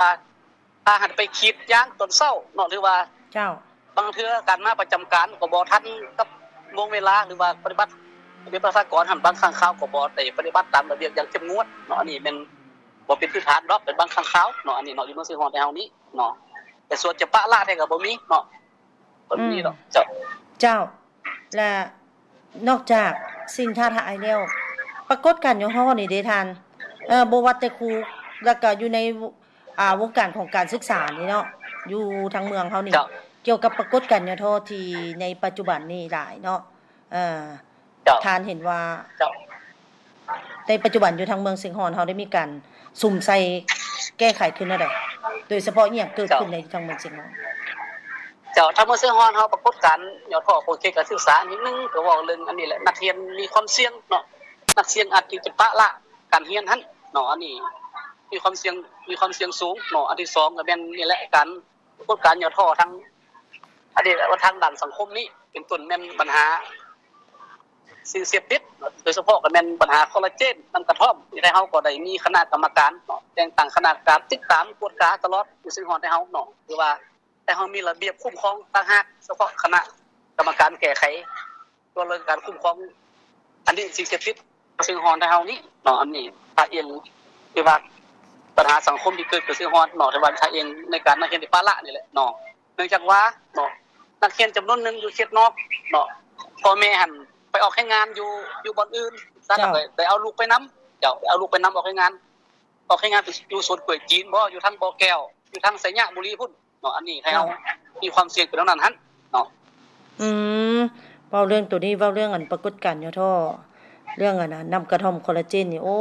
ພາ ພາໃຫ້ໄປກຣີດຢາງຕອນເຊົ້າເນາະ ຫຼືວ່າ ເຈົ້າ ບາງເທື່ອການມາປະຈຳການກໍບໍ່ທັນກັບວງເວລາ ຫຼືວ່າປະຕິບັດ ລະບຽບປະຊາກອນຫັ້ນ ບາງຄັ້ງຄາວກໍບໍ່ໄດ້ປະຕິບັດຕາມລະບຽບຢ່າງເຂັ້ມງວດເນາະ. ອັນນີ້ແມ່ນບໍ່ເປັນພື້ນຖານດອກ ເປັນບາງຄັ້ງຄາວເນາະ ອັນນີ້ເນາະ ຢູ່ເມືອງຊຽງຮ່ອນໄທເຮົານີ້ເນາະ. ແຕ່ສ່ວນຈະປະລະແທ້ກໍບໍ່ມີເນາະ ບໍ່ມີດອກ ອືມ ເຈົ້າ. ເຈົ້າ ແລະ ນອກຈາກສິ່ງທ້າທາຍແລ້ວ ປາກົດການຫຍໍ້ທໍ້ນີ້ເດທ່ານ ເອີ ບໍ່ວ່າແຕ່ຄູ ແລ້ວກໍຢູ່ໃນ ອ່າ ວົງການຂອງການສຶກສານີ້ເນາະ ຢູ່ທາງເມືອງເຮົານີ້ ເຈົ້າ ກ່ຽວກັບປາກົດການຫຍໍ້ທໍ້ທີ່ໃນປັດຈຸບັນນີ້ຫຼາຍເນາະ ເອີ ເຈົ້າ ທ່ານເຫັນວ່າ ເຈົ້າ ໃນປັດຈຸບັນຢູ່ທາງເມືອງຊຽງຮ່ອນເຮົາໄດ້ມີການສຸມໃສ່ແກ້ໄຂຄືແນວໃດ? ໂດຍສະເພາະອີ່ຫຍັງເກີດຂຶ້ນໃນ ເຈົ້າ ຢູ່ທາງເມືອງຊຽງຮ່ອນ? ເຈົ້າ ທາງເມືອງຊຽງຮ່ອນເຮົາ ປາກົດການຫຍໍ້ທໍ້ຂອງເຂດການສຶກສາ ອັນທີໜຶ່ງ ກໍເວົ້າເລື່ອງອັນນີ້ແຫຼະ ນັກຮຽນມີຄວາມສ່ຽງເນາະ ນັກຮຽນອາດທີ່ຈະປະລະການຮຽນຫັ້ນເນາະ ອັນນີ້ມີຄວາມສ່ຽງ ມີຄວາມສ່ຽງສູງເນາະ. ອັນທີສອງ ກໍແມ່ນນີ້ແຫຼະ ການ ປາກົດການຫຍໍ້ທໍ້ທາງ ອັນນີ້ແຫຼະວ່າທາງດ້ານສັງຄົມນີ້ ເປັນຕົ້ນແມ່ນບັນຫາສິ່ງເສບຕິດ ໂດຍສະເພາະກໍແມ່ນບັນຫາຄໍລາເຈນ ນ້ຳກະທ້ອມ. ໃນໄທເຮົາກໍໄດ້ມີຄະນະກຳມະການເນາະ ແຕ່ງຕັ້ງຄະນະການຕິດຕາມກວດກາຕະຫຼອດ ຢູ່ຊຽງຮ່ອນໄທເຮົາເນາະ ຫຼືວ່າ ແຕ່ເຮົາມີລະບຽບຄຸ້ມຄອງຕ່າງຫາກ ສະເພາະຄະນະກຳມະການແກ້ໄຂ ຕົວະເລື່ອງການຄຸ້ມຄອງ ອັນນີ້ສິ່ງເສບຕິດ ຊຽງຮ່ອນໄທເຮົານີ້ເນາະ. ອັນນີ້ຖ້າອີງ ຫຼືວ່າບັນຫາສັງຄົມທີ່ເກີດຂຶ້ນຊຽງຮ່ອນເນາະ ແຕ່ວ່າຖ້າອີງໃນການນັກຮຽນທີ່ປະລະນີ້ແຫຼະເນາະ ເນື່ອງຈາກວ່າເນາະ ນັກຮຽນຈຳນວນໜຶ່ງຢູ່ເຂດນອກເນາະ ພໍ່ແມ່ຫັ້ນໄປອອກແຮງງານຢູ່ ຢູ່ບ່ອນອື່ນ ເຈົ້າ ກໍໄດ້ເອົາລູກໄປນຳ ເຈົ້າ ໄດ້ເອົາລູກໄປນຳອອກແຮງງານ ອອກແຮງງານໄປຢູ່ສວນກ້ວຍຈີນບໍ ຢູ່ທາງບໍ່ແກ້ວ ຢູ່ທາງໄຊຍະບູລີພຸ້ນເນາະ. ອັນນີ້ໃຫ້ເຮົາ ເຈົ້າ ມີຄວາມສ່ຽງເປັນແນວນັ້ນຫັ້ນເນາະ. ອືມ ເວົ້າເລື່ອງໂຕນີ້ ເວົ້າເລື່ອງອັນປາກົດການຫຍໍ້ທໍ້ ເລື່ອງອັນນັ້ນ ນ້ຳກະທ້ອມຄໍລາເຈນນີ້ ໂອ້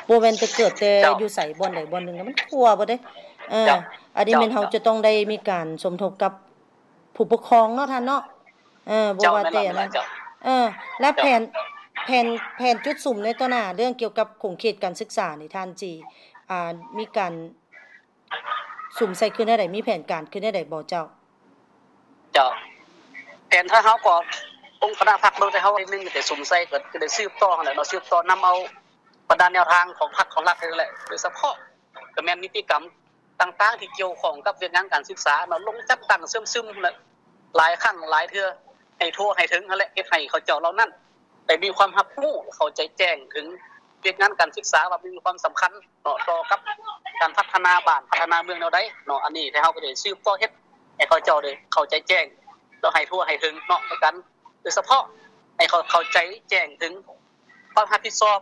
ບໍ່ແມ່ນແຕ່ເກີດແຕ່ ເຈົ້າ ຢູ່ໃສ ບ່ອນໃດບ່ອນໜຶ່ງ ມັນທົ່ວເບິດເດ້. ເອີ ເຈົ້າ ອັນນີ້ແມ່ນເຮົາ ເຈົ້າ ຈະຕ້ອງໄດ້ມີການສົມທົບກັບຜູ້ປົກຄອງເນາະທ່ານເນາະ. ເອີ ບໍ່ວ່າແຕ່ນັ້ນ ເຈົ້າ ແມ່ນແລ້ວ ເຈົ້າ ເອີ ແລະ ເຈົ້າ ແຜນ ແຜນ ແຜນຈຸດສຸມໃນຕໍ່ໜ້າ ເລື່ອງກ່ຽວກັບຂົງເຂດການສຶກສານີ້ ທ່ານຊິ ອ່າ ມີການ ສຸມໃສ່ຄືແນວໃດ? ມີແຜນການຄືແນວໃດບໍ່ເຈົ້າ? ເຈົ້າ ແຜນທາງເຮົາກໍ ອົງຄະນະພັກເມືອງໄທເຮົາ ໜຶ່ງໄດ້ສຸມໃສ່ ກໍ ກໍໄດ້ສືບຕໍ່ຫັ້ນແຫຼະເນາະ ສືບຕໍ່ນຳເອົາບັນດາແນວທາງຂອງພັກຂອງລັດນີ້ແຫຼະ ໂດຍສະເພາະກໍແມ່ນນິຕິກຳຕ່າງໆ ທີ່ກ່ຽວຂ້ອງກັບວຽກງານການສຶກສາເນາະ ລົງຈັດຕັ້ງເຊື່ອມຊຶມຫັ້ນແຫຼະ ຫຼາຍຄັ້ງຫຼາຍເທື່ອ ໃຫ້ທົ່ວໃຫ້ເຖິງຫັ້ນແຫຼະ ເຮັດໃຫ້ເຂົາເຈົ້າເຫຼົ່ານັ້ນ ໄດ້ມີຄວາມຮັບຮູ້ ເຂົ້າໃຈແຈ້ງເຖິງວຽກງານການສຶກສາວ່າມີຄວາມສຳຄັນເນາະ ຕໍ່ກັບການພັດທະນາບ້ານ ພັດທະນາເມືອງແນວໃດເນາະ. ອັນນີ້ໄທເຮົາກໍໄດ້ສືບຕໍ່ເຮັດໃຫ້ເຂົາເຈົ້າໄດ້ເຂົ້າໃຈແຈ້ງ ແລ້ວໃຫ້ທົ່ວໃຫ້ເຖິງເນາະ ໃນການ ໂດຍສະເພາະໃຫ້ເຂົາເຂົ້າໃຈແຈ້ງເຖິງຄວາມຮັບຜິດຊອບ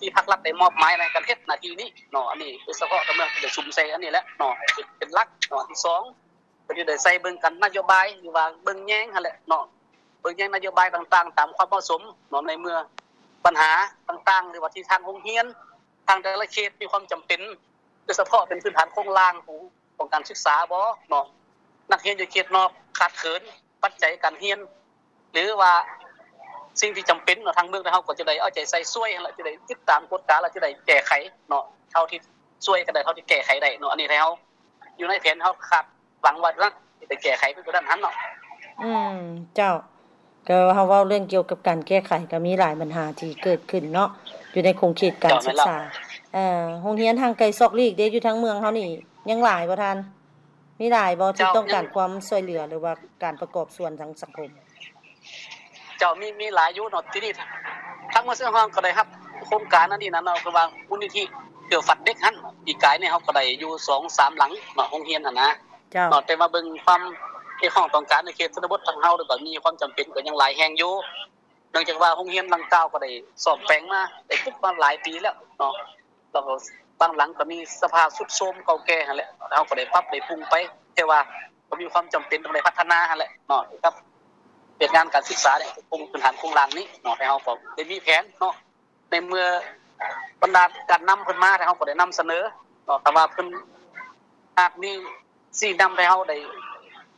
ທີ່ພັກລັດໄດ້ມອບໝາຍໃນການເຮັດໜ້າທີ່ນີ້ເນາະ. ອັນນີ້ໂດຍສະເພາະກໍເມືອງໄດ້ສຸມໃສ່ອັນນີ້ແຫຼະເນາະ ເປັນ ເປັນຫຼັກເນາະ. ອັນທີສອງ ກໍຈະໄດ້ໃສ່ເບິ່ງກັນນະໂຍບາຍ ຫຼືວ່າເບິ່ງແຍງຫັ້ນແຫຼະເນາະ ເບິ່ງແຍງນະໂຍບາຍຕ່າງໆ ຕາມຄວາມເໝາະສົມເນາະ ໃນເມື່ອບັນຫາຕ່າງໆ ຫຼືວ່າທີ່ທາງໂຮງຮຽນ ທາງແຕ່ລະເຂດມີຄວາມຈຳເປັນ ໂດຍສະເພາະເປັນພື້ນຖານໂຄງລ່າງຂອງ ຂອງການສຶກສາບໍເນາະ ນັກຮຽນຢູ່ເຂດນອກຂາດເຂີນປັດໄຈການຮຽນ ຫຼືວ່າສິ່ງທີ່ຈຳເປັນເນາະ ທາງເມືອງເຮົາກໍຈະໄດ້ເອົາໃຈໃສ່ຊ່ວຍຫັ້ນແຫຼະ ຈະໄດ້ຕິດຕາມກວດກາ ແລະ ຈະໄດ້ແກ້ໄຂເນາະ ເທົ່າທີ່ຊ່ວຍກັນໄດ້ ເທົ່າທີ່ແກ້ໄຂໄດ້ເນາະ. ອັນນີ້ໃຫ້ເຮົາ ຢູ່ໃນແຜນເຮົາຄາດຫວັງວ່າຈະໄດ້ແກ້ໄຂໄປກວ່ານັ້ນຫັ້ນເນາະ. ອືມ ເຈົ້າ ກໍເຮົາເວົ້າເລື່ອງກ່ຽວກັບການແກ້ໄຂ ກໍມີຫຼາຍບັນຫາທີ່ເກີດຂຶ້ນເນາະ ຢູ່ໃນຂົງເຂດການສຶກສາ. ເອີ ໂຮງຮຽນຫ່າງໄກຊອກຫຼີກເດ້ ຢູ່ທາງເມືອງເຮົານີ້ ຍັງຫຼາຍບໍ່ທ່ານ? ມີຫຼາຍບໍ່ທີ່ຕ້ອງການຄວາມຊ່ວຍເຫຼືອ ຫຼືວ່າການປະກອບສ່ວນທາງສັງຄົມ? ເຈົ້າ ມີ ມີຫຼາຍຢູ່ເນາະ. ທີນີ້ທາງເມືອງຊຽງຮ່ອນກໍໄດ້ຮັບໂຄງການອັນນີ້ນະເນາະ ຄືວ່າມູນນິທິເພື່ອຝັນເດັກຫັ້ນ ປີກາຍນີ້ເຮົາກໍໄດ້ຢູ່ສອງສາມຫຼັງເນາະ ໂຮງຮຽນຫັ້ນນະ ເຈົ້າ ເນາະ. ແຕ່ວ່າເບິ່ງຄວາມຮຽກຮ້ອງຕ້ອງການໃນເຂດຊົນນະບົດທາງເຮົາ ແລ້ວກໍມີຄວາມຈຳເປັນກໍຍັງຫຼາຍແຫ່ງຢູ່ ເນື່ອງຈາກວ່າໂຮງຮຽນດັ່ງກ່າວກໍໄດ້ສ້ອມແປງມາ ໄດ້ປຸກມາຫຼາຍປີແລ້ວເນາະ ແລ້ວກໍບາງຫຼັງກໍມີສະພາບຊຸດໂຊມເກົ່າແກ່ຫັ້ນແຫຼະ ເຮົາກໍໄດ້ປັບໄດ້ປຸງໄປ ແຕ່ວ່າກໍມີຄວາມຈຳເປັນຕ້ອງໄດ້ພັດທະນາຫັ້ນແຫຼະເນາະ ກັບວຽກງານການສຶກສານີ້ ໂຄງພື້ນຖານໂຄງລ່າງນີ້ເນາະ ແຕ່ເຮົາກໍໄດ້ມີແຜນເນາະ ໃນເມື່ອບັນດາການນຳເພິ່ນມາ ແຕ່ເຮົາກໍໄດ້ນຳສະເໜີເນາະ ຖ້າວ່າເພິ່ນຫາກມີຊີ້ນຳໃຫ້ເຮົາໄດ້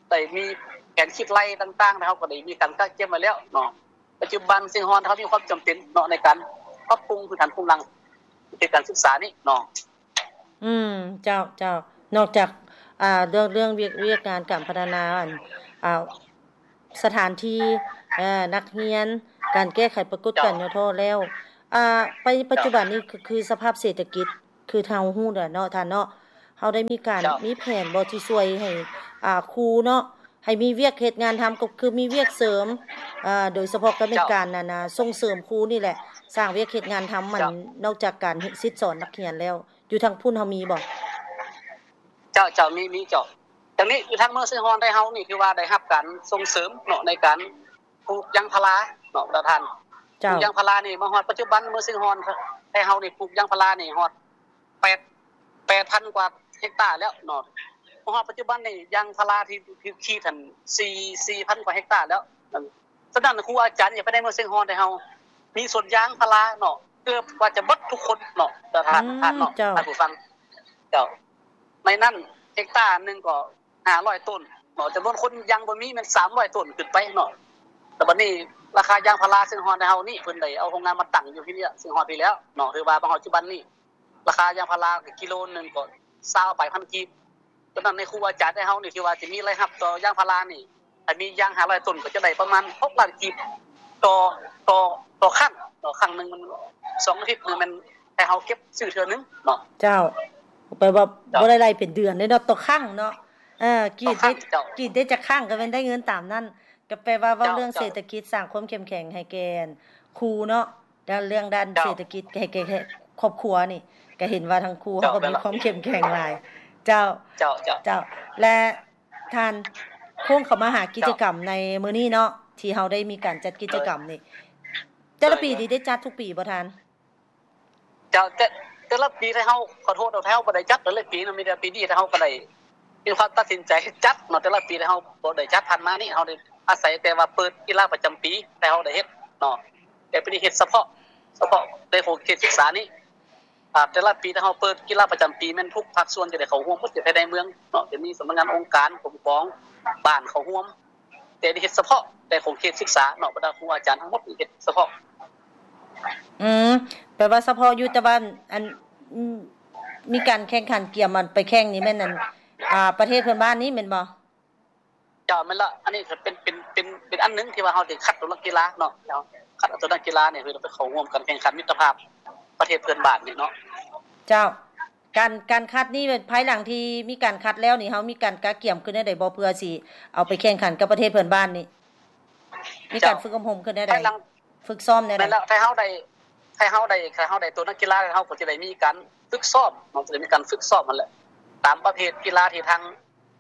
ໄດ້ມີແຜນຄິດໄລ່ຕ່າງໆ ແລ້ວເຮົາກໍໄດ້ມີການກະກຽມໄວ້ແລ້ວເນາະ. ປັດຈຸບັນຊຽງຮ່ອນເຮົາມີຄວາມຈຳເປັນເນາະ ໃນການປັບປຸງພື້ນຖານໂຄງລ່າງເຂດການສຶກສານີ້ເນາະ. ອືມ ເຈົ້າ ເຈົ້າ ນອກຈາກ ອ່າ ເລື່ອງ ເລື່ອງວຽກ ວຽກງານການພັດທະນາ ອັນ ອ່າ ສະຖານທີ່ ເອີ ນັກຮຽນ ການແກ້ໄຂປາກົດການຫຍໍ້ທໍ້ແລ້ວ ເຈົ້າ ອ່າ ໄປປັດຈຸບັນນີ້ ເຈົ້າ ຄື ຄືສະພາບເສດຖະກິດ ຄືເຮົາຮູ້ແຫຼະເນາະທ່ານເນາະ ເຮົາໄດ້ມີການ ເຈົ້າ ມີແຜນບໍ່ທີ່ຊ່ວຍໃຫ້ ອ່າ ຄູເນາະ ໃຫ້ມີວຽກເຮັດງານທຳ ກໍຄືມີວຽກເສີມ ອ່າ ໂດຍສະເພາະກໍແມ່ນ ເຈົ້າ ການ ອັນນ່າ ສົ່ງເສີມຄູນີ້ແຫຼະ ສ້າງວຽກເຮັດງານທຳ ມັນ ເຈົ້າ ນອກຈາກການສິດສອນນັກຮຽນແລ້ວ ຢູ່ທາງພຸ້ນເຮົາມີບໍ່? ເຈົ້າ ເຈົ້າ ມີ ມີເຈົ້າ. ທາງນີ້ ຢູ່ທາງເມືອງຊຽງຮ່ອນໄທເຮົານີ້ ຖືວ່າໄດ້ຮັບການສົ່ງເສີມເນາະ ໃນການປູກຢາງພາລາເນາະ ປະທານ. ເຈົ້າ. ປູກຢາງພາລານີ້ ມາຮອດປັດຈຸບັນ ເມືອງຊຽງຮ່ອນໄທເຮົານີ້ ປູກຢາງພາລານີ້ຮອດ ແປດ ແປດພັນກວ່າເຮັກຕາແລ້ວເນາະ. ມາຮອດປັດຈຸບັນນີ້ ຢາງພາລາທີ່ຖືກຂີດຫັ້ນ ສີ່ ສີ່ພັນກວ່າເຮັກຕາແລ້ວ. ສະນັ້ນ ຄູອາຈານຢູ່ພາຍໃນເມືອງຊຽງຮ່ອນໄທເຮົາ ມີສວນຢາງພາລາເນາະ ເກືອບວ່າຈະເບິດທຸກຄົນເນາະ ທ່ານ ອືມ ທ່ານເນາະ ເຈົ້າ ທ່ານຜູ້ຟັງ. ເຈົ້າ. ໃນນັ້ນ ເຮັກຕາໜຶ່ງກໍຫ້າຮ້ອຍຕົ້ນເນາະ ຈຳນວນຄົນຍັງບໍ່ມີແມ່ນສາມຮ້ອຍຕົ້ນຂຶ້ນໄປເນາະ. ແລ້ວບັດນີ້ ລາຄາຢາງພາລາຊຽງຮ່ອນໃນເຮົານີ້ ເພິ່ນໄດ້ເອົາໂຮງງານມາຕັ້ງຢູ່ທີ່ນີ້ ຊຽງຮ່ອນພີ້ແລ້ວເນາະ. ຖືວ່າມາຮອດປັດຈຸບັນນີ້ ລາຄາຢາງພາລາກິໂລໜຶ່ງກໍຊາວປາຍພັນກີບ. ສະນັ້ນ ໃນຄູອາຈານໃນເຮົານີ້ ທີ່ວ່າຈະມີລາຍຮັບຕໍ່ຢາງພາລານີ້ ຖ້າມີຢາງຫ້າຮ້ອຍຕົ້ນ ກໍຈະໄດ້ປະມານຫົກລ້ານກີບຕໍ່ ຕໍ່ ຕໍ່ຄັ້ງເນາະ. ຄັ້ງໜຶ່ງມັນສອງອາທິດ ແມ່ນໃຫ້ເຮົາເກັບຊື້ເທື່ອໜຶ່ງເນາະ. ເຈົ້າ. ແປວ່າ ເຈົ້າ ບໍ່ໄດ້ໄລ່ເປັນເດືອນເດ້ເນາະ ຕໍ່ຄັ້ງເນາະ. ເອີ ກຣີດໄດ້ ຕໍ່ຄັ້ງ ເຈົ້າ ກຣີດໄດ້ຈັກຄັ້ງກໍແມ່ນໄດ້ເງິນຕາມນັ້ນ. ກໍແປວ່າເວົ້າ ເຈົ້າ ເລື່ອງ ເຈົ້າ ເສດຖະກິດ ສ້າງຄວາມເຂັ້ມແຂງໃຫ້ແກ່ຄູເນາະ ແລ້ວເລື່ອງດ້ານ ເຈົ້າ ເສດຖະກິດໃຫ້ແກ່ ແກ່ຄອບຄົວນີ້ ກໍເຫັນວ່າທາງຄູ ເຈົ້າ ເຮົາກໍມີ ແມ່ນລະ ຄວາມເຂັ້ມແຂງຫຼາຍ. ເຈົ້າ ເຈົ້າ ເຈົ້າ ເຈົ້າ. ແລະ ທ່ານ ໂຄ້ງເຂົ້າມາຫາກິດຈະກຳ ເຈົ້າ ໃນມື້ນີ້ເນາະ ທີ່ເຮົາໄດ້ມີການຈັດກິດຈະກຳນີ້ ໂດຍ ແຕ່ລະປີນີ້ ໂດຍ ໄດ້ຈັດທຸກປີບໍ່ທ່ານ? ເຈົ້າ ແຕ່ ແຕ່ລະປີໄທເຮົາ ຂໍໂທດເນາະ ໄທເຮົາບໍ່ໄດ້ຈັດແຕ່ລະປີເນາະ. ມີແຕ່ປີນີ້ໄທເຮົາກໍໄດ້ມີຄວາມຕັດສິນໃຈຈັດເນາະ. ແຕ່ລະປີໄທເຮົາບໍ່ໄດ້ຈັດ ຜ່ານມານີ້ເຮົາໄດ້ອາໄສແຕ່ວ່າເປີດກິລາປະຈຳປີ ໄທເຮົາໄດ້ເຮັດເນາະ. ແຕ່ປີນີ້ເຮັດສະເພາະ ສະເພາະໃນຂົງເຂດສຶກສານີ້. ອ່າ ແຕ່ລະປີໄທເຮົາເປີດກິລາປະຈຳປີ ແມ່ນທຸກພາກສ່ວນຈະໄດ້ເຂົ້າຮ່ວມໝົດ ຈະໄດ້ໃນເມືອງເນາະ ຈະມີສຳນັກງານອົງການປົກຄອງບ້ານເຂົ້າຮ່ວມ. ແຕ່ເຮັດສະເພາະແຕ່ຂົງເຂດສຶກສາເນາະ ບັນດາຄູອາຈານທັງໝົດເຮັດສະເພາະ. ອືມ ແປວ່າສະເພາະຢູ່ ແຕ່ວ່າ ອັນ ມີການແຂ່ງຂັນກຽມ ອັນ ໄປແຂ່ງນີ້ແມ່ນ ອັນ ອ່າ ປະເທດເພື່ອນບ້ານນີ້ແມ່ນບໍ່? ເຈົ້າ ແມ່ນລະ. ອັນນີ້ກໍເປັນ ເປັນ ເປັນ ເປັນອັນໜຶ່ງທີ່ວ່າເຮົາໄດ້ຄັດເອົານັກກິລາເນາະ ເຮົາຄັດເອົາຕົວນັກກິລານີ້ ເພື່ອໄປເຂົ້າຮ່ວມການແຂ່ງຂັນມິດຕະພາບປະເທດເພື່ອນບ້ານນີ້ເນາະ. ເຈົ້າ. ການ ການຄັດນີ້ ພາຍຫຼັງທີ່ມີການຄັດແລ້ວນີ້ ເຮົາມີການກະກຽມຂຶ້ນແນວໃດບໍ່ ເພື່ອຊິເອົາໄປແຂ່ງຂັນກັບປະເທດເພື່ອນບ້ານນີ້? ມີການ ເຈົ້າ ຝຶກອົບຮົມຂຶ້ນແນວໃດ? ພາຍຫຼັງ ຝຶກຊ້ອມແນວໃດ? ແມ່ນແລ້ວ ໄທເຮົາໄດ້ ໄທເຮົາໄດ້ ໄທເຮົາໄດ້ຕົວນັກກິລາ ເຮົາກໍຈະໄດ້ມີການຝຶກຊ້ອມເນາະ ຈະໄດ້ມີການຝຶກຊ້ອມຫັ້ນແຫຼະ ຕາມປະເພດກິລາທີ່ທາງ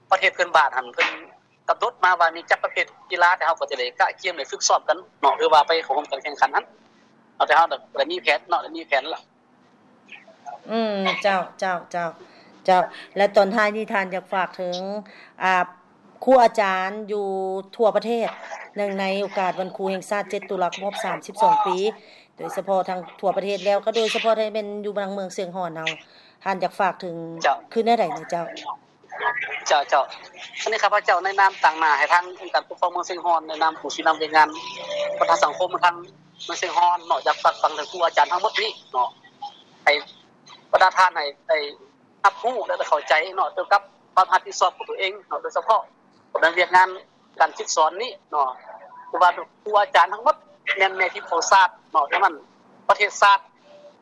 ປະເທດເພື່ອນບ້ານຫັ້ນ ເພິ່ນກຳນົດມາວ່າມີຈັກປະເພດກິລາ ແຕ່ເຮົາກໍຈະໄດ້ກະກຽມ ໄດ້ຝຶກຊ້ອມກັນເນາະ ຫຼືວ່າໄປເຂົ້າຮ່ວມການແຂ່ງຂັນຫັ້ນເນາະ. ແຕ່ເຮົາກໍໄດ້ມີແຜນເນາະ ໄດ້ມີແຜນລະ. ອືມ ເຈົ້າ ເຈົ້າ ເຈົ້າ ເຈົ້າ. ແລະ ຕອນທ້າຍນີ້ທ່ານຢາກຝາກເຖິງ ອ່າ ຄູອາຈານຢູ່ທົ່ວປະເທດ ເນື່ອງໃນໂອກາດວັນຄູແຫ່ງຊາດ ເຈັດ ຕຸລາ ຄົບຮອບ ສາມສິບສອງ ປີ ໂດຍສະເພາະທັງທົ່ວປະເທດແລ້ວ ກໍໂດຍສະເພາະແທ້ແມ່ນຢູ່ທາງເມືອງຊຽງຮ່ອນເຮົາ ທ່ານຢາກຝາກເຖິງ ເຈົ້າ ຄືແນວໃດແດ່ເຈົ້າ? ເຈົ້າ ເຈົ້າ. ອັນນີ້ຂ້າພະເຈົ້າໃນນາມຕາງໜ້າໃຫ້ທາງອົງການປົກຄອງເມືອງຊຽງຮ່ອນ ໃນນາມຜູ້ຊີ້ນຳວຽກງານພັດທະນາສັງຄົມທາງເມືອງຊຽງຮ່ອນເນາະ ຢາກຝາກຝັງເຖິງຄູອາຈານທັງໝົດນີ້ເນາະ ໃຫ້ບັນດາທ່ານໃຫ້ໄດ້ຮັບຮູ້ ແລະ ໄດ້ເຂົ້າໃຈເນາະ ກ່ຽວກັບຄວາມຮັບຜິດຊອບຂອງຕົວເອງເນາະ ໂດຍສະເພາະ ດຳເນີນວຽກງານການຝຶກສອນນີ້ເນາະ ຄືວ່າຄູອາຈານທັງໝົດແມ່ນແມ່ພິມຂອງຊາດເນາະ. ສະນັ້ນ ປະເທດຊາດ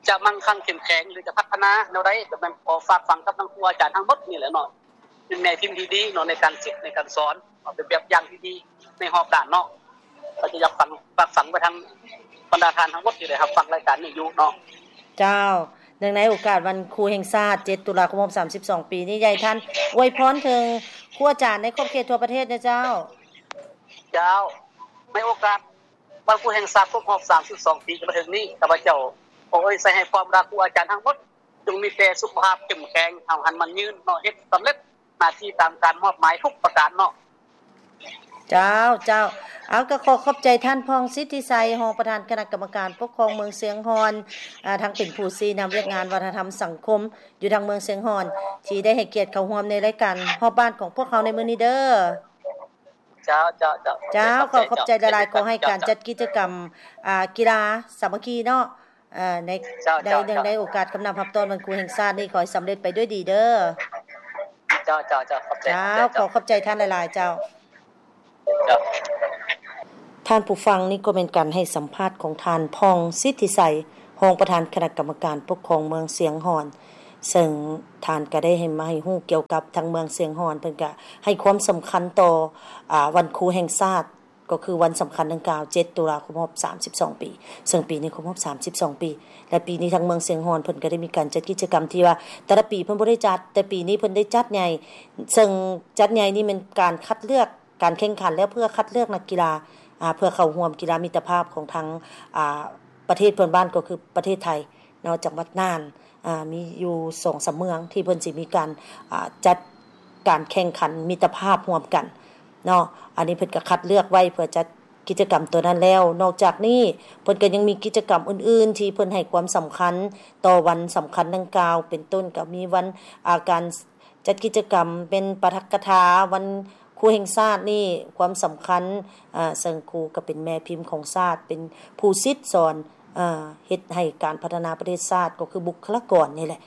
ຈະມັ່ງຄັ່ງເຂັ້ມແຂງ ຫຼື ຈະພັດທະນາແນວໃດ ກໍແມ່ນຂໍຝາກຝັງກັບທາງຄູອາຈານທັງໝົດນີ້ແຫຼະເນາະ ເປັນແມ່ພິມທີ່ດີເນາະ ໃນການສິດໃນການສອນເນາະ ເປັນແບບຢ່າງທີ່ດີໃນຮອບດ້ານເນາະ. ກໍຈະຢາກຝາກ ຝາກຝັງໄປທາງບັນດາທ່ານທັງໝົດທີ່ໄດ້ຮັບຟັງລາຍການນີ້ຢູ່ເນາະ. ເຈົ້າ. ເນື່ອງໃນໂອກາດວັນຄູແຫ່ງຊາດ ເຈັດ ຕຸລາ ຄົບຮອບ ສາມສິບສອງ ປີນີ້ ຢາກໃຫ້ທ່ານອວຍພອນເຖິງຄູອາຈານໃນຂອບເຂດທົ່ວປະເທດແດ່ເຈົ້າ. ເຈົ້າ. ໃນໂອກາດວັນຄູແຫ່ງຊາດຄົບຮອບ ສາມສິບສອງ ປີທີ່ຈະມາເຖິງນີ້ ຂ້າພະເຈົ້າຂໍອວຍໄຊໃຫ້ພອນບັນດາຄູອາຈານທັງໝົດ ຈົ່ງມີແຕ່ສຸຂະພາບເຂັ້ມແຂງ ຫ້າວຫັນໝັ້ນຍືນເນາະ ເຮັດສຳເລັດໜ້າທີ່ຕາມການມອບໝາຍທຸກປະການເນາະ. ເຈົ້າ ເຈົ້າ. ເອົາ ກໍຂໍຂອບໃຈທ່ານ ຜ່ອງ ສິດທິໄຊ ຮອງປະທານຄະນະກຳມະການປົກຄອງເມືອງຊຽງຮ່ອນ ອາ ທັງເປັນຜູ້ຊີ້ນຳວຽກງານວັດທະນະທຳສັງຄົມຢູ່ທາງເມືອງຊຽງຮ່ອນ ທີ່ໄດ້ໃຫ້ກຽດເຂົ້າຮ່ວມໃນລາຍການຮອບບ້ານຂອງພວກເຮົາໃນມື້ນີ້ເດີ້. ເຈົ້າ ເຈົ້າ ເຈົ້າ. ເຈົ້າ ຂໍຂອບໃຈຫຼາຍໆ. ຂໍໃຫ້ການຈັດກິດຈະກຳ ອ່າ ກິລາສາມັກຄີເນາະ ເອີ ໃນ ເຈົ້າ ໃນ ເຈົ້າ ເນື່ອງໃນໂອກາດກຳນັບຮັບຕ້ອນວັນຄູແຫ່ງຊາດນີ້ ຂໍໃຫ້ສຳເລັດໄປດ້ວຍດີເດີ້. ເຈົ້າ ເຈົ້າ ເຈົ້າ. ຂອບໃຈ ເຈົ້າ ເຈົ້າ. ຂໍຂອບໃຈທ່ານຫຼາຍໆ ເຈົ້າ. ເຈົ້າ. ທ່ານຜູ້ຟັງ ນີ້ກໍແມ່ນການໃຫ້ສຳພາດຂອງທ່ານ ຜ່ອງ ສິດທິໄຊ ຮອງປະທານຄະນະກຳມະການປົກຄອງເມືອງຊຽງຮ່ອນ. ເຊິ່ງທ່ານກໍໄດ້ໃຫ້ ມາໃຫ້ຮູ້ກ່ຽວກັບທາງເມືອງຊຽງຮ່ອນ ເພິ່ນກໍໃຫ້ຄວາມສຳຄັນຕໍ່ ອາ ວັນຄູແຫ່ງຊາດ ກໍຄືວັນສຳຄັນດັ່ງກ່າວ ເຈັດ ຕຸລາ ຄົບຮອບ ສາມສິບສອງ ປີ, ເຊິ່ງປີນີ້ຄົບຮອບ ສາມສິບສອງ ປີ ແລະ ປີນີ້ທາງເມືອງຊຽງຮ່ອນເພິ່ນກໍໄດ້ມີການຈັດກິດຈະກຳທີ່ວ່າ ແຕ່ລະປີເພິ່ນບໍ່ໄດ້ຈັດ ແຕ່ປີນີ້ເພິ່ນໄດ້ຈັດໃຫຍ່ ເຊິ່ງຈັດໃຫຍ່ນີ້ແມ່ນການຄັດເລືອກ ການແຂ່ງຂັນ ແລ້ວເພື່ອຄັດເລືອກນັກກິລາ ອາ ເພື່ອເຂົ້າຮ່ວມກິລາມິດຕະພາບຂອງທາງ ອາ ປະເທດເພື່ອນບ້ານ ກໍຄືປະເທດໄທເນາະ ຈັງຫວັດນ່ານ ອາ ມີຢູ່ສອງສາມເມືອງທີ່ເພິ່ນຊິມີການ ອາ ຈັດການແຂ່ງຂັນມິດຕະພາບຮ່ວມກັນເນາະ. ອັນນີ້ເພິ່ນກໍຄັດເລືອກໄວ້ເພື່ອຈັດກິດຈະກຳຕົວນັ້ນແລ້ວ. ນອກຈາກນີ້ເພິ່ນກໍຍັງມີກິດຈະກຳອື່ນໆ ທີ່ເພິ່ນໃຫ້ຄວາມສຳຄັນຕໍ່ວັນສຳຄັນດັ່ງກ່າວ ເປັນຕົ້ນກໍມີວັນ ອາ ການ ຈັດກິດຈະກຳເປັນປາຖະກະຖາ ວັນຄູແຫ່ງຊາດນີ້ ຄວາມສຳຄັນ ອາ ເຊິ່ງຄູກໍເປັນແມ່ພິມຂອງຊາດ ເປັນຜູ້ສິດສອນ ເຮັດໃຫ້ການພັດທະນາປະເທດຊາດ ກໍຄືບຸກຄະລາກອນນີ້ແຫຼະ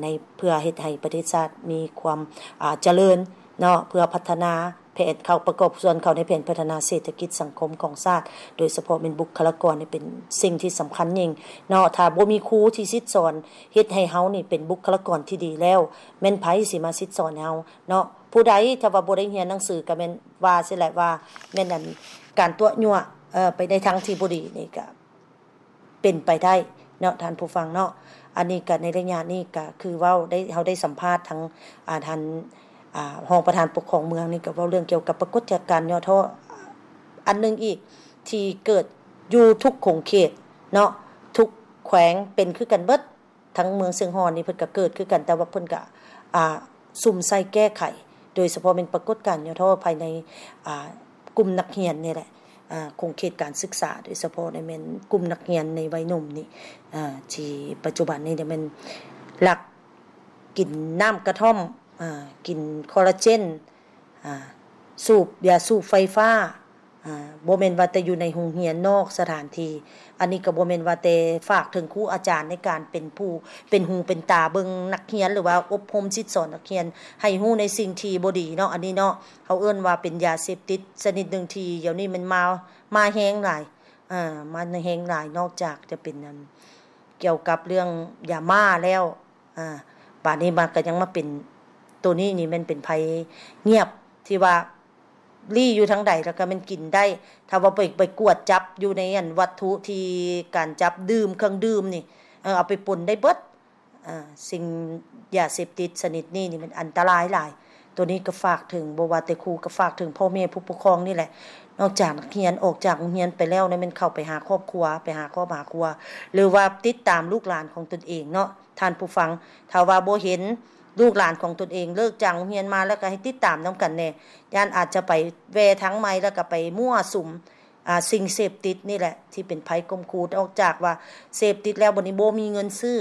ໃນ ເພື່ອເຮັດໃຫ້ປະເທດຊາດມີຄວາມ ອາ ຈະເລີນເນາະ ເພື່ອພັດທະນາແຜນເຂົ້າ ປະກອບສ່ວນເຂົ້າໃນແຜນພັດທະນາເສດຖະກິດສັງຄົມຂອງຊາດ ໂດຍສະເພາະແມ່ນບຸກຄະລາກອນນີ້ເປັນສິ່ງທີ່ສຳຄັນຍິ່ງເນາະ. ຖ້າບໍ່ມີຄູທີ່ສິດສອນ ເຮັດໃຫ້ເຮົານີ້ເປັນບຸກຄະລາກອນທີ່ດີແລ້ວ ແມ່ນໃຜຊິມາສິດສອນໃຫ້ເຮົາເນາະ? ຜູ້ໃດຖ້າວ່າບໍ່ໄດ້ຮຽນໜັງສື ກໍແມ່ນວ່າຊີ້ແຫຼະວ່າແມ່ນອັນ ການຕົວະຍົວະ ເອີ ໄປໃນທາງທີ່ບໍ່ດີນີ້ກໍເປັນໄປໄດ້ເນາະ ທ່ານຜູ້ຟັງເນາະ. ອັນນີ້ກໍໃນໄລຍະນີ້ກໍຄືເວົ້າໄດ້ ເຮົາໄດ້ສຳພາດທັງ ອາ ທ່ານ ອາ ຮອງປະທານປົກຄອງເມືອງນີ້ ກໍເວົ້າເລື່ອງກ່ຽວກັບປາກົດການຫຍໍ້ທໍ້ ອາ ອັນໜຶ່ງອີກທີ່ເກີດຢູ່ທຸກຂົງເຂດເນາະ ທຸກແຂວງເປັນຄືກັນເບິດ. ທັງເມືອງຊຽງຮ່ອນນີ້ເພິ່ນກໍເກີດຄືກັນ ແຕ່ວ່າເພິ່ນກໍ ອາ ສຸມໃສ່ແກ້ໄຂ ໂດຍສະເພາະແມ່ນປາກົດການຫຍໍ້ທໍ້ພາຍໃນ ອາ ກຸ່ມນັກຮຽນນີ້ແຫຼະ ອາ ຂົງເຂດການສຶກສາ ໂດຍສະເພາະແມ່ນກຸ່ມນັກຮຽນໃນໄວໜຸ່ມນີ້ ອາ ທີ່ປັດຈຸບັນນີ້ແມ່ນລັກກິນນ້ຳກະທ່ອມ ອາ ກິນຄໍລາເຈນ ອາ ສູບຢາສູບໄຟຟ້າ ອາ ບໍ່ແມ່ນວ່າແຕ່ຢູ່ໃນໂຮງຮຽນ ນອກສະຖານທີ່. ອັນນີ້ກໍບໍ່ແມ່ນວ່າແຕ່ຝາກເຖິງຄູອາຈານໃນການເປັນຜູ້ເປັນຫູເປັນຕາເບິ່ງນັກຮຽນ ຫຼືວ່າອົບຮົມສິດສອນນັກຮຽນໃຫ້ຮູ້ໃນສິ່ງທີ່ບໍ່ດີເນາະ ອັນນີ້ເນາະ ເຮົາເອີ້ນວ່າເປັນຢາເສບຕິດຊະນິດໜຶ່ງທີ່ດຽວນີ້ມັນມາ ມາແຮງຫຼາຍ ອາ ມາແຮງຫຼາຍ ນອກຈາກຈະເປັນ ອັນ ກ່ຽວກັບເລື່ອງຢາມ້າແລ້ວ ອາ ບາດນີ້ມາກໍຍັງມາເປັນ ໂຕນີ້ນີ້ແມ່ນເປັນໄພງຽບ ທີ່ວ່າລີ້ຢູ່ທາງໃດແລ້ວກໍແມ່ນກິນໄດ້ ຖ້າວ່າໄປ ໄປກວດຈັບຢູ່ໃນອັນວັດຖຸທີ່ການຈັບດື່ມ ເຄື່ອງດື່ມນີ້ ເອີ ເອົາໄປປົນໄດ້ເບິດ. ອາ ສິ່ງຢາເສບຕິດຊະນິດນີ້ນີ້ມັນອັນຕະລາຍຫຼາຍ. ໂຕນີ້ກໍຝາກເຖິງ ບໍ່ວ່າແຕ່ຄູກໍຝາກເຖິງພໍ່ແມ່ຜູ້ປົກຄອງນີ້ແຫຼະ ນອກຈາກນັກຮຽນອອກຈາກໂຮງຮຽນໄປແລ້ວນະ ແມ່ນເຂົ້າໄປຫາຄອບຄົວ ໄປຫາຄອບຫາຄົວ ຫຼືວ່າຕິດຕາມລູກຫຼານຂອງຕົນເອງເນາະ ທ່ານຜູ້ຟັງ. ຖ້າວ່າບໍ່ເຫັນລູກຫຼານຂອງຕົນເອງເລີກຈາກໂຮງຮຽນມາແລ້ວ ກໍໃຫ້ຕິດຕາມນຳກັນແດ່ ຢ້ານອາດຈະໄປແວ່ທາງໃໝ່ ແລ້ວກໍໄປມົ້ວສຸມ ອາ ສິ່ງເສບຕິດນີ້ແຫຼະທີ່ເປັນໄພຂົ່ມຂູ່. ນອກຈາກວ່າເສບຕິດແລ້ວ ບັດນີ້ບໍ່ມີເງິນຊື້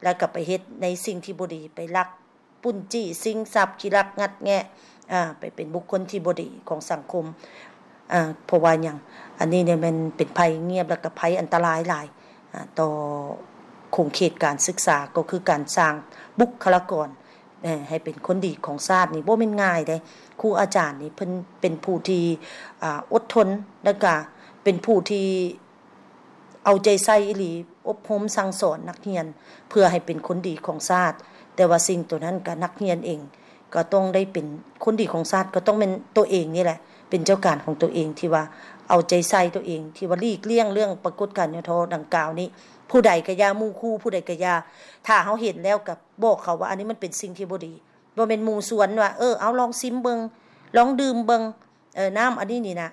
ແລ້ວກໍໄປເຮັດໃນສິ່ງທີ່ບໍ່ດີ ໄປລັກປຸ້ນຈີ້ຊິງຊັບ ຂີ້ລັກງັດແງະ ອາ ໄປເປັນບຸກຄົນທີ່ບໍ່ດີຂອງສັງຄົມ. ອາ ເພາະວ່າຫຍັງ? ອັນນີ້ນີ້ແມ່ນເປັນໄພງຽບ ແລ້ວກໍໄພອັນຕະລາຍຫຼາຍ ອາ ຕໍ່ຂົງເຂດການສຶກສາ ກໍຄືການສ້າງບຸກຄະລາກອນ ເອີ ໃຫ້ເປັນຄົນດີຂອງຊາດນີ້ບໍ່ແມ່ນງ່າຍເດ້. ຄູອາຈານນີ້ເພິ່ນເປັນຜູ້ທີ່ ອາ ອົດທົນ ແລ້ວກະເປັນຜູ້ທີ່ເອົາໃຈໃສ່ອີ່ຫຼີ ອົບຮົມສັ່ງສອນນັກຮຽນເພື່ອໃຫ້ເປັນຄົນດີຂອງຊາດ. ແຕ່ວ່າສິ່ງໂຕນັ້ນກະນັກຮຽນເອງກໍຕ້ອງໄດ້ເປັນຄົນດີຂອງຊາດ ກໍຕ້ອງແມ່ນໂຕເອງນີ້ແຫຼະເປັນເຈົ້າການຂອງໂຕເອງ ທີ່ວ່າເອົາໃຈໃສ່ໂຕເອງ ທີ່ວ່າຫຼີກລ່ຽງເລື່ອງປາກົດການຫຍໍ້ທໍ້ດັ່ງກ່າວນີ້. ຜູ້ໃດກະຢ່າ ໝູ່ຄູ່ຜູ້ໃດກະຢ່າ ຖ້າເຮົາເຫັນແລ້ວກະ ບອກເຂົາວ່າອັນນີ້ມັນເປັນສິ່ງທີ່ບໍ່ດີ. ບໍ່ແມ່ນໝູ່ຊວນວ່າ ເອີ ເອົາລອງຊິມເບິ່ງ ລອງດື່ມເບິ່ງ ເອີ ນ້ຳອັນນີ້ນີ້ນະ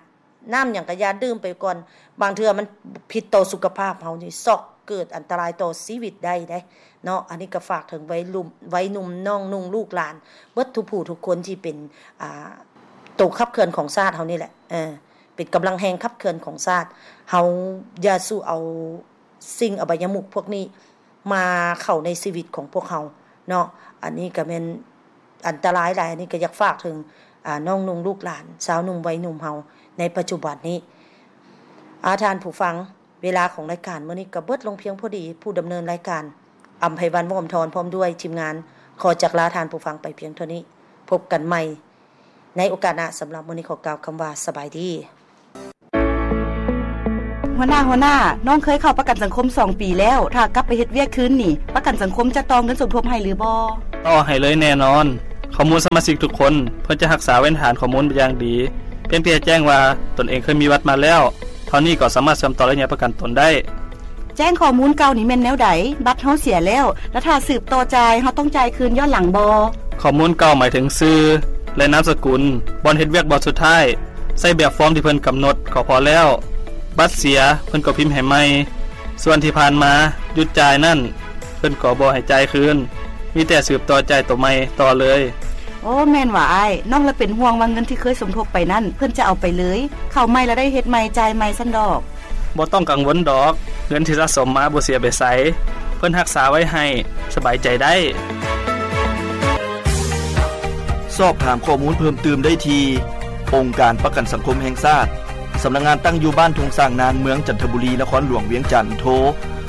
ນ້ຳຫຍັງກະຢ່າດື່ມໄປກ່ອນ ບາງເທື່ອມັນຜິດຕໍ່ສຸຂະພາບເຮົານີ້ ຊອກເກີດອັນຕະລາຍຕໍ່ຊີວິດໄດ້ເດ້ເນາະ. ອັນນີ້ກະຝາກເຖິງໄວໜຸ່ມ ໄວໜຸ່ມນ້ອງນຸ່ງລູກຫຼານ ເບິດທຸກຜູ້ທຸກຄົນທີ່ເປັນ ອາ ໂຕຂັບເຄື່ອນຂອງຊາດເຮົານີ້ແຫຼະ ເອີ ເປັນກຳລັງແຮງຂັບເຄື່ອນຂອງຊາດ. ເຮົາຢ່າສູ່ເອົາ ສິ່ງອະບາຍະມຸກພວກນີ້ມາເຂົ້າໃນຊີວິດຂອງພວກເຮົາເນາະ. ອັນນີ້ກະແມ່ນອັນຕະລາຍຫຼາຍ. ອັນນີ້ກະຢາກຝາກເຖິງ ອາ ນ້ອງນຸ່ງລູກຫຼານ ຊາວໜຸ່ມໄວໜຸ່ມເຮົາໃນປັດຈຸບັນນີ້. ອາ ທ່ານຜູ້ຟັງ ເວລາຂອງລາຍການມື້ນີ້ກະເບິດລົງພຽງພໍດີ. ຜູ້ດຳເນີນລາຍການ ອຳໄພວັນ ວອມທອນ ພ້ອມດ້ວຍທີມງານ ຂໍຈັກລາທ່ານຜູ້ຟັງໄປພຽງເທົ່ານີ້. ພົບກັນໃໝ່ໃນໂອກາດໜ້າ. ສຳລັບມື້ນີ້ຂໍກ່າວຄຳວ່າ ສະບາຍດີ. ຫົວໜ້າ, ຫົວໜ້າ, ນ້ອງເຄີຍເຂົ້າປະກັນສັງຄົມສອງປີແລ້ວ, ຖ້າກັບໄປເຮັດວຽກຄືນນີ້, ປະກັນສັງຄົມຈະຕໍ່ເງິນສົມທົບໃຫ້ຫຼືບໍ່? ຕໍ່ໃຫ້ເລີຍແນ່ນອນ. ຂໍ້ມູນສະມາຊິກທຸກຄົນ ເພິ່ນຈະຮັກສາໄວ້ໃນຖານຂໍ້ມູນຢ່າງດີ. ພຽງແຕ່ແຈ້ງວ່າຕົນເອງເຄີຍມີບັດມາແລ້ວ, ເທົ່ານີ້ກໍສາມາດເຊື່ອມຕໍ່ໄລຍະປະກັນຕົນໄດ້. ແຈ້ງຂໍ້ມູນເກົ່ານີ້ແມ່ນແນວໃດ? ບັດເຮົາເສຍແລ້ວ, ແລະ ຖ້າສືບຕໍ່ຈ່າຍ, ເຮົາຕ້ອງຈ່າຍຄືນຍ້ອນຫຼັງບໍ່? ຂໍ້ມູນເກົ່າໝາຍເຖິງຊື່ ແລະ ນາມສະກຸນ, ບ່ອນເຮັດວຽກບ່ອນສຸດທ້າຍ, ໃຊ້ແບບຟອມທີ່ເພິ່ນກຳນົດກໍພໍແລ້ວ. ບັດເສຍ, ເພິ່ນກໍພິມໃຫ້ໃໝ່. ສ່ວນທີ່ຜ່ານມາຢຸດຈ່າຍນັ້ນ, ເພິ່ນກໍບໍ່ໃຫ້ຈ່າຍຄືນ, ມີແຕ່ສືບຕໍ່ຈ່າຍໂຕໃໝ່ຕໍ່ເລີຍ. ໂອ້, ແມ່ນຫວາອ້າຍ. ນ້ອງລະເປັນຫ່ວງວ່າເງິນທີ່ເຄີຍສົມທົບໄປນັ້ນ ເພິ່ນຈະເອົາໄປເລີຍ, ເຂົ້າໃໝ່ລະໄດ້ເຮັດໃໝ່, ຈ່າຍໃໝ່ຊັ້ນດອກ. ບໍ່ຕ້ອງກັງວົນດອກ, ເງິນທີ່ສະສົມມາບໍ່ເສຍໄປໃສ, ເພິ່ນຮັກສາໄວ້ໃຫ້, ສະບາຍໃຈໄດ້. ສອບຖາມຂໍ້ມູນເພີ່ມຕື່ມໄດ້ທີ່ ອົງການປະກັນສັງຄົມແຫ່ງຊາດ, ສຳນັກງານຕັ້ງຢູ່ບ້ານທົ່ງຊ້າງນາງ, ເມືອງຈັນທະບູລີ, ນະຄອນຫຼວງວຽງຈັນ. ໂທ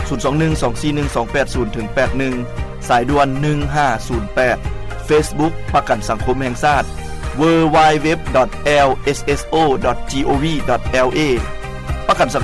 ສູນສອງໜຶ່ງ ສອງສີ່ໜຶ່ງ ສອງແປດສູນ ເຖິງ ແປດໜຶ່ງ, ສາຍດ່ວນ ໜຶ່ງຫ້າສູນແປດ. ເຟສບຸກ ປະກັນສັງຄົມແຫ່ງຊາດ www.lsso.gov.la. ປະກັນສັງ